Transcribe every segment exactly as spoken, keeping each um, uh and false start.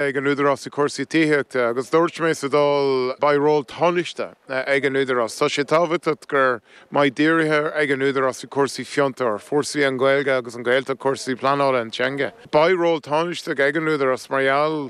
ag an Údarás i cúrsaí tithíochta agus dúirt mé sa Dáil beidh ról tánaisteach ag an Údarás. Tá sé tábhachtach go mbeidh dírithe ag an Údarás i cúrsaí fiontar, fórsaí an Ghaeilge agus an Ghaeltacht cúrsaí pleanála an teanga. Beidh ról tánaisteach ag an Údarás mar gheall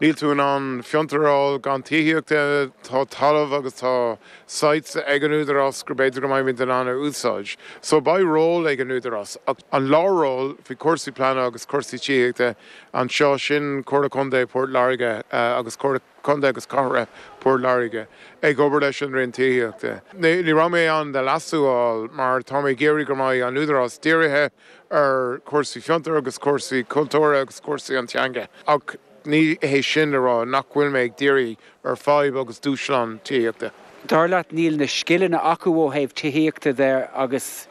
níl tú in ann fiontar a fháil gan tithíochta tá talamh agus tá sites ag an Údarás gur b'fhéidir go mbeimid in ann a úsáid. So beidh ról ag an Údarás ach an lárról faoi cúrsaí pleanála agus cúrsaí tithíochta anseo sin Comhairle Contae Port Láirge agus Comhairle Contae agus Cathrach Port Láirge ag obair leis an Roinn Tithíochta. Ní raibh mé ann de leasú a fháil mar tá mé ag iarraidh go mbeidh an Údarás dírithe ar cúrsaí fiontar agus cúrsaí cultúrtha agus cúrsaí an teanga. Ach ní hé sin le rá nach bhfuil mé ag díriú ar fadhb agus dúshlán tithíochta. Dar leat níl na scileanna acu ó thaobh tithíochta de agus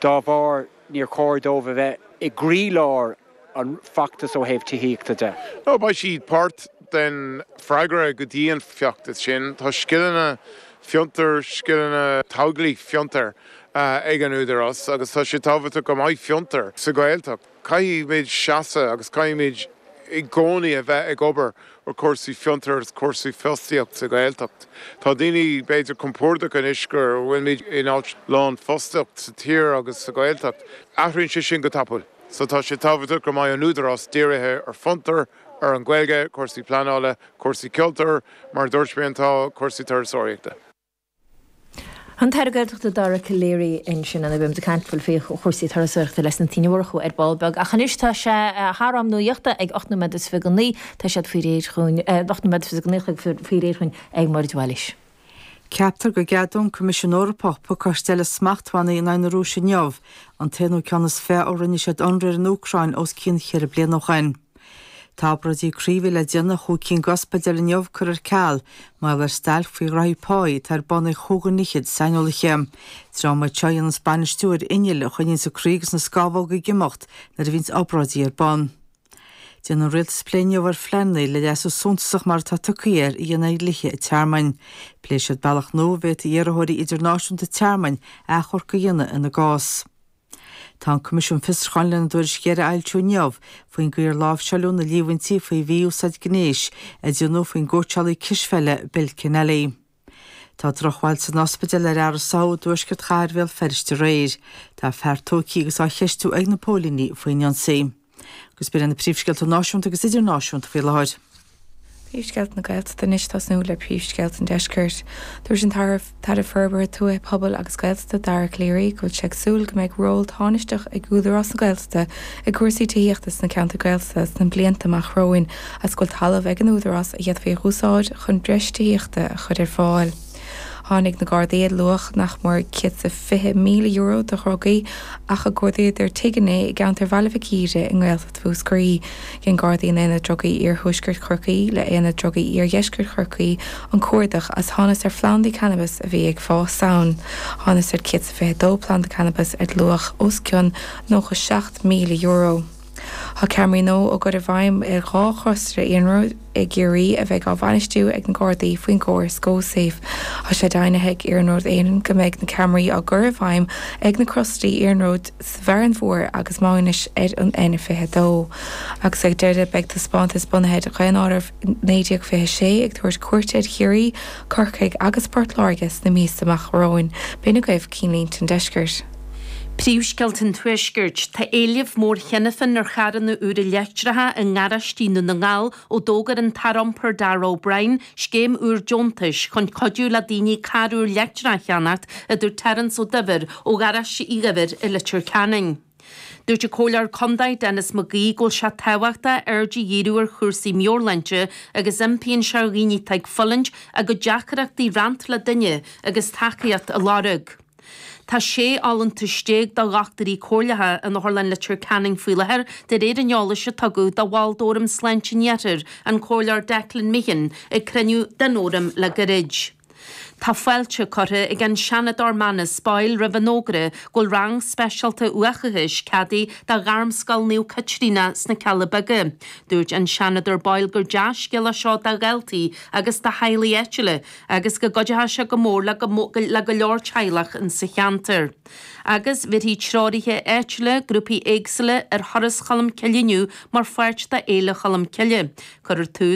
dá bharr níor chóir dóibh a bheith i gcroílár an feachtas ó thaobh tithíochta de. No beidh siad páirt den freagra go dtí an feachtas sin, tá scileanna fiontar scileanna teaghlaigh fiontar ag an Údarás agus tá sé tábhachtach go mbeidh fiontar sa Ghaeltacht. Caithfimid seasamh agus caithfimid i gcónaí a bheith ag obair ar cúrsaí fiontar agus cúrsaí fostaíocht sa Ghaeltacht. Tá daoine b'fhéidir compordach anois go bhfuilmid in áit lán fostaíocht sa tír agus sa Ghaeltacht. Athraíonn sé sin go tapúil. So tá sé tábhachtach go mbeidh an Údarás dírithe ar fiontar, ar an Ghaeilge, cúrsaí pleanála, cúrsaí cultúir, mar dúirt mé tá cúrsaí turasóireachta. An tAire Gaeltachta Dara Calleary ansin an bhim de caintfuil fé chúrsaí turasóireachta leis na Tine Mhurchú ar ball beag ach anois tá sé thar am nuachta ag ocht nóiméad is fiche go naoi tá siad faoi réir chugainn ocht nóiméad is fiche go naoi faoi réir chugainn ag Máire Bhailiis. Ceaptar go gceadóidh an Coimisiún Eorpach pacáiste eile smachtbhannaí in aghaidh na Rúise inniu, an t-aonú ceann is fiche ó rinne siad ionradh ar an Úcráin os cionn cheithre bliana ó shin. Tá obráidí croí a bhí le déanamh chúig cinn d'ospidéil inniu curtha ar ceal, mar gheall ar stailc faoi ghraithí páí atá ar bun ag chúigear fhichead saineolaithe. Dream iad seo a dhéananns bainistiú ar innill a choinníonns an croí agus na scamhóga ag imeacht nuair a bhíonns obráidí ar bun. Déanfaidh an rialtas plé inniu ar phleananna le leasú suntasach mar atá tugtha air a dhéanamh ar dhlíthe an tearmainn. Pléifidh siad bealach nua a bhféadfaidh iarrthóirí idirnáisiúnta tearmainn achomharc a dhéanamh ina gcás. Tá an Coimisiún Fiosrúcháin lena dtuairisc dheiridh a fhoilsiú inniu faoin gcaoi ar láimhseáladh na líomhaintí faoi mhí-úsáid gnéis a déanadh faoin gcóitseálaí cispheile Bill Kennelly. Tá drochbhail san ospidéal ar fhear a sáthadh i dtuaisceart chathair Bhéal Feirste aréir. Tá fear tógtha agus á cheistiú ag na póilíní faoin ionsaí. Agus b'in na príomhscéalta náisiúnta agus idirnáisiúnta faoi láthair. Príomhscéalta na Gaeltachta anois tosnú le príomhscéalta an Deiscirt. Dúirt an tAire Forbartha Tuaithe Pobail agus Gaeltachta Dara Calleary go bhfuil sé ag súil go mbeidh ról tánaisteach ag Údarás na Gaeltachta i gcúrsaí tithíochta sna ceantair Gaeltachta sna blianta amach romhainn as go bhfuil talamh ag an Údarás a d'fhéadfaí a úsáid chun breis tithíochta a chur ar fáil. Tháinig na Gardaí ar luach nach mór céad is fiche míle euro de dhrugaí ach a cuardaíodar tigh inné i gceantar Bhaile Mhic Íre i nGaeltacht Mhúscraí. Dhein Gardaí in Aonad Drugaí Iarthuaisceart Chorcaí le Aonad Drugaí Iardheisceart Chorcaí an cuardach as thánas ar phlandaí cannabis a bhí ag fás ann. Thánas ar céad is fiche dó planda cannabis ar luach os cionn nócha seacht míle euro. Tá ceamaraí nua á gcur i bhfeidhm ar dhá chrosra iarnróid i gCiarraí a bheidh á bhainistiú ag na Gardaí faoin gcóras GoSafe. Tá sé deimhnithe ag Iarnród Éireann go mbeidh na ceamaraí á gcur i bhfeidhm ag na crosraí iarnróid sa Bhfearann Mhór agus Maínis ar an N fiche dó. Agus ag deireadh beidh taispeántas bunaithe ar Dhaonáireamh naoi déag fiche sé ag tabhairt cuairte ar Chiarraí, Corcaigh agus Port Láirge sna míosa amach romhainn. B'in agaibh cinnlínte an deiscirt. Príomhscéalta an Tuaiscirt. Tá éileamh mór cheana féin ar charranna úra leictreacha i ngaráistí Dhún na nGall ó d'fhógair an tAire Iompair Darragh O'Brien scéim úr deontais chun cuidiú le daoine carr úr leictreach a cheannacht, a dúirt Terence Ó Duibhir ó gharáiste Uí Dhuibhir i Leitir Ceanainn. Dúirt an Comhairleoir Contae Denis McGee go bhfuil sé tábhachtach aird a dhíriú ar chúrsaí meabhairshláinte agus impíonn sé ar dhaoine atá ag fulaingt a gcuid deacrachtaí roinnt le duine agus tacaíocht a lorg. Tá sé fholúntas déag do dhochtúirí comhairleacha in Otharlann Leitir Ceanainn faoi láthair, de réir an eolais a tugadh do bhall d'Fhóram Sláinte an Iarthair, an Comhairleoir Declan Meehan, ag cruinniú den Fhóram le gairid. Tá fáilte curtha ag an Seanadóir Manus Boyle roimh an fhógra go bhfuil rang speisialta uathachais ceadaithe do Ghairmscoil Naomh Caitríona sna Cealla Beaga. Dúirt an Seanadóir Boyle gur dea-scéala seo do dhaltaí agus do theaghlaigh áitiúla agus go gcuideoidh sé go mór le le go leor teaghlach in sa cheantar. Agus bhéarfaidh treoraithe áitiúla grúpaí éagsúla ar thuras Cholm Cille inniu mar pháirt de Fhéile Cholm Cille. Cuirfear tús